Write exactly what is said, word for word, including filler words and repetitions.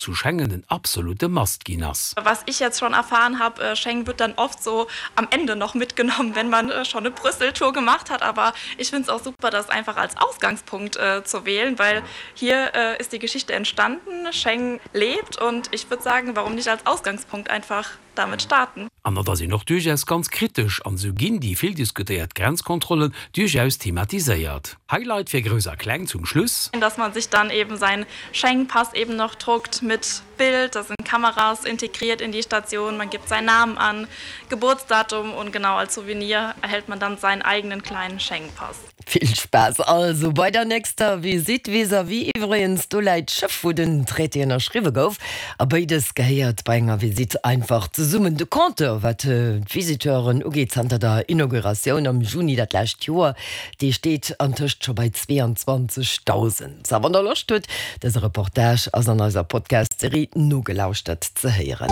zu Schengen en absolute Must ginn ass. Was ich jetzt schon erfahren habe, äh, Schengen wird dann oft so am Ende noch mitgenommen, wenn man äh, schon eine Brüsseltour gemacht hat. Aber ich finde es auch super, das einfach als Ausgangspunkt äh, zu wählen, weil hier äh, ist die Geschichte entstanden, Schengen lebt und ich würde sagen, warum nicht als Ausgangspunkt einfach damit starten. An da sinn och duerchaus ganz kritesch an sou ginn déi vill diskutéiert Grenzkontrollen duerchaus thematiséiert. Highlight fir Grouss a Kleng zum Schluss. Dass man sich dann eben seinen Schengen-Pass eben noch druckt mit Bild, da sind Kameras integriert in die Station, man gibt seinen Namen an, Geburtsdatum und genau als Souvenir erhält man dann seinen eigenen kleinen Schengen-Pass. Vill Spaass also bei der nächster Visitt vis-à-vis iwwregens, do läit d'Schëff wou den Traité ënnerschriwwe gouf. A béides gehéiert bei enger Visitt einfach zesummen. De Compteur wat d'Visiteuren ugeet zanter der Inauguratioun am Juni dat lescht Joer, dee steet antëscht scho bei zweeanzwanzegdausend. A wann der Loscht hutt, dëse Reportage ass an eiser Podcast-Serie Nogelauschtert ze héieren.